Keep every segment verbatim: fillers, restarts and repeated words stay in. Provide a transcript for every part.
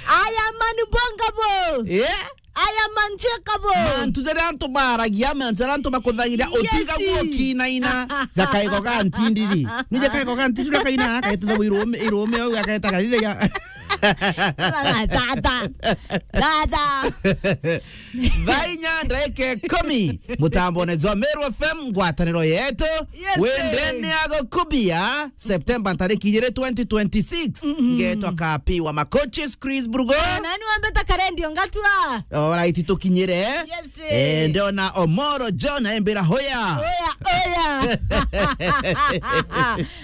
I am unbongable. Yeah. I am unshakable. Mantu jaria antu baragia, mantu jaria antu bakuthagira, yes, utiga guokinaina. Jakaego ga ntindiri. Ni jakaego ga ntindiri kaina, kaititha irume, irume au, akaeta karire ya. Tata. Tata. Thaa inya ndaika ikumi, mutambone jwa Meru F M, ngwataniro yetu. Yes, wendene sir. Agukubia, September ntariki ijiri, twenty twenty-six. Mm-mm. Ngetwa Kapi wa Makoches, Chris Brugo. Na ni wambeta karendio ngatua. Alright, tukinyire. Yes, sir. Eh, ndiona Omoro John aimbira hoya. Hoya, hoya.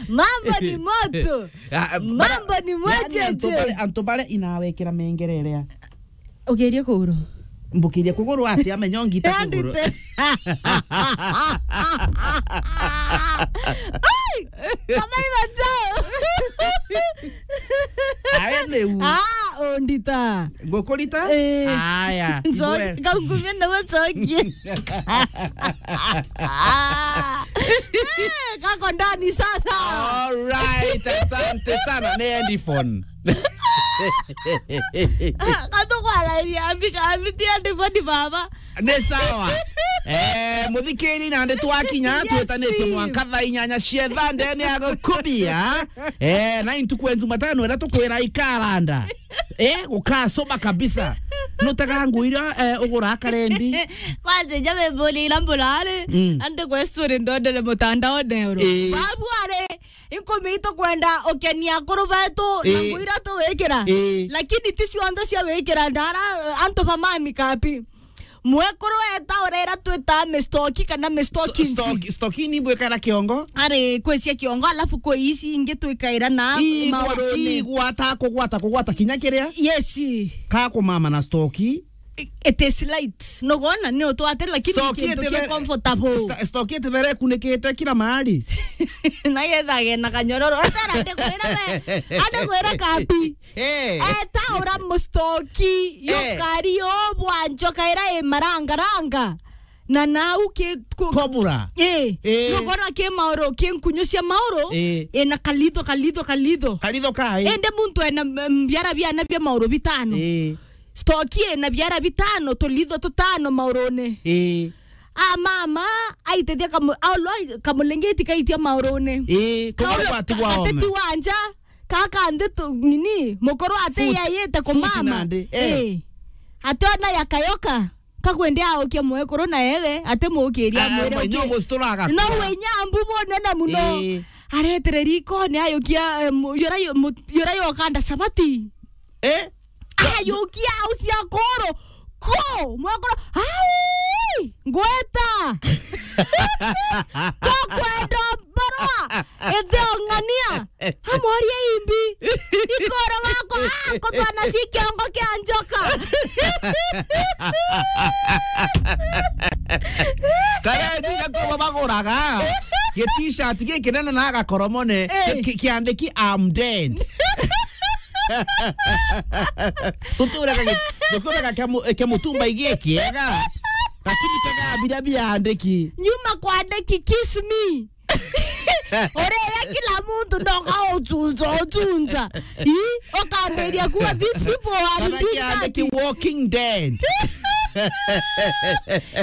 Mambo ni moto. Ah, mambo ni yani, mwecheche. Antu bare, antu bare inawekera mengererea. Ugerie kuguru. Mbukirie kuguru ati amenya ongita kuguru. Ai! Kama ibacho. Ae ni u. Ah, ondita. Ngukurita? Eh. Aya. Nzo-, ngwe. Kaungumia na wechokie. Eh, kako ndani sasa. All right, asante sana. Ni Andy phone. Ah, kando kwa laini, ambika, ambitia ndivoni baba. Ni sawa. Eh, muthikiri, nandi twakinya, yes, twitanitie mwanka thaa inyanya cia thaa ndene ya gukubia. Eh, na intu kwenzu matano era tukwira ikaranda. Eh, gukasoma kabisa. Nutega nguira, eh, ugura karendi. Kwanza, nja wimburia ira mburari, mm, andi kwa story ndondere mutandao nero. Eh. Babu ari, inkumi itukwenda ukenia akuru betu na, eh, nguira tuwikira. Eh. Lakini ti cionthe cia wikira ndara, eh, antu ba mami Kapi. Mwekuru eta urera twita mistoki kana mistokinsi. Sto-, stoki, stoki ni bwikara kiongo? Ari, kwi cia kiongo, alafu kwi ici ingi twikaira na ii gwa-, mauruni. Ii gwata, kugwata, kugwata kinya kiria? Yes. Ka kumama na stoki. It is light. Nugona ni utwate, lakini stoki kintu iti ki the-, comfortable. Sta-, stoki iti there kunikite kila mahali. Na yethage na kanyororo. Atara, ande kwira we, ande kwira Kapi. Eh. Eta ura mustoki, eh, yukari o bwa njoka ira i marangaranga. Na nau ki ku-, kobura. Eh. Eh. Nugona ki mauru, ki nkunyu cia mauru. Eh. Ina kalitho, kalitho, kalitho. Kalitho kai? Ende muntu ena, mm, biara biana bia mauru bitano. Eh. Stoki ina biara bitano, tulitho tutano maurune. Eh. A mama, aitethia kamu-, aulwa kamulengeti kaitia maurune. Eh, kobura. Kaurwa gwatigwa ome. Ateti wa nja. Kaka nthi tu, nini, mukuru ati yayite kumama. Futi nandi, eh. Eh. Ati ona yakayoka, kakwende aukia mwekuru na ewe, ati mukiria. Ah, mwire, okay. Nyo gusituraga. No we nyambu bunene muno. Eh. Aretere rikoni ayukia, eh, mu-, yura yo-, mu-, yura yokanda sabati. Eh? Ayukia au cia kuru. Ko, mwekuru, ai, ngweta. Ko kwenda mbarwa, ithio ng'ania. Amoria imbi. Ikoro wako, ah, kutwana si kiongo kia njoka. Kare ndiga ko baguraga. Gi t-shirt gikinene na gakoromone. Eh. Ki-, ki-, kiandiki, "I'm dead." Tuturega gi-, tuturega kia mu-, kia mutumba igie kiega. Lakini kega biria biandiki. Nyuma kwandiki, "Kiss me." Urega kila muntu ndoka utunza, utunza. Ii, ukambiria kuwa these people are, kana indeed kiandiki dead. Walking dead.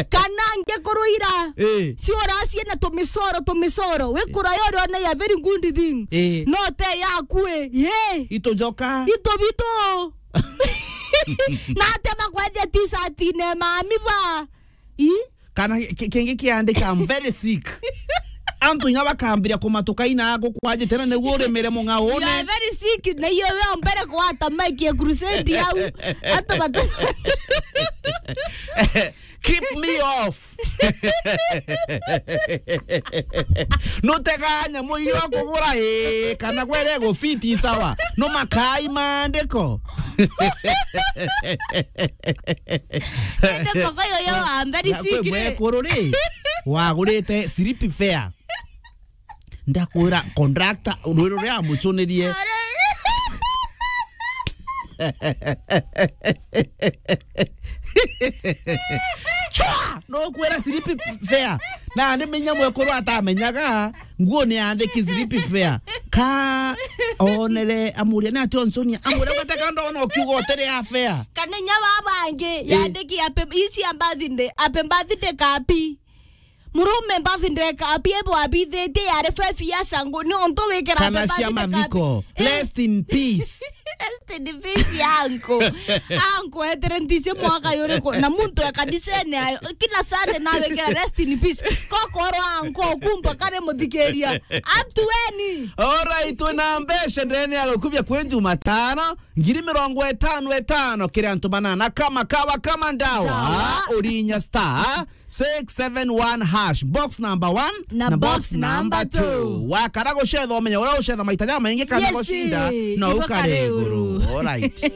Kana nge kuruira. Eh. Si uracie na tumisoro, tumisoro. We kuraya uri ona ya very good thing. Eh. No te yaku e. Ye. Ito joka. Ito bito. Na ate makwethia t-shirt ine mami ba. Ii? Kana ki-, kingi kiandika, "I'm very sick." Antu inya bakambiria kumatuka ina gukwajite na niguo urimire mung'aune. "You are very sick." Na iyo we ombere kwata mic ya crusade yau. Ata bata- "Keep me off." Nutega nyamu iria ukugura, ii, kana gwere gufiti sawa. No makai maandiko. Ende moko yoyo wa mbere na kwe sikire. Mwekuru ri, wagurite slip fare. Ndakwira conductor, rwiro ruria amucunirie. Chwa! No kwira slip fare. Na ni menya mwekuru atamenyaga, nguo ni andiki slip fare. Ka onere amuria ni ati onsonia. Amuria gataka ndona ukiuga utiri ya fare. Kana inya babangi, eh, yandiki happy, isi ya birthday, happy birthday kapi. Murume birthday kapi ebo abithitie yari five years ago, ni ontu wikira kana happy cia birthday kapi. Mathiko. Eh. Rest in peace. Rest in peace, anko. Anko etere ntisi mwaka yuriku. Na muntu e kanisene ayo. Kila Sunday nawikira rest in peace. Kokoro anko kumba kare muthikiria. Up to when? Alright, twina mbeca ndene ya gukubia kwi Jumatano. Ngiri mirongo itano itano kiri antu banana kama kawa kama ndawa. Ndawa. Urinya star six seven one hash, box number one na box number two. Wakara gucetha, umenya uria ucetha maita jamaingi kana gucinda, no ukare iguru. Alright.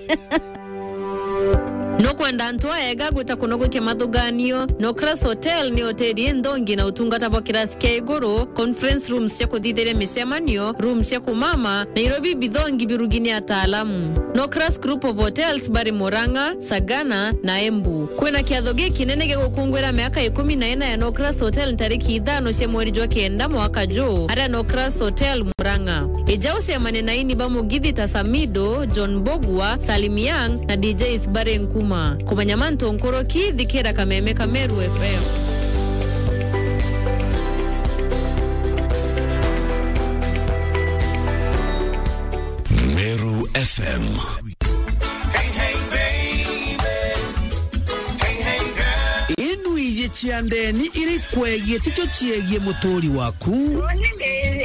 Nukwenda antu aega gwita kuno gwikia mathuganio? Nocras Hotel ni hoteli inthongi na utungata bwa kirasi kia iguru, conference rooms cia kuthithiria micemanio, rooms cia kumama, Nairobi bithongi birugi ni ataalamu. Nocras Group of Hotels bari Murang'a, Sagana na Embu. Kwina kiatho gikinene gia gukungwira miaka ikumi na ina ya Nocras Hotel ntariki ithano cia mweri jwa kenda mwaka juu, aria Nocras Hotel Murang'a. Ija ucemanie na aini ba mugithi ta Samido, John Mbugua, Salim Young na D Js bari Nkuma. Kumenya mantu nkuruki, thikira kameme ka Meru F M. Meru F M. Inu iji cia ndeni iri kwegie ticio ciegie muturi waku.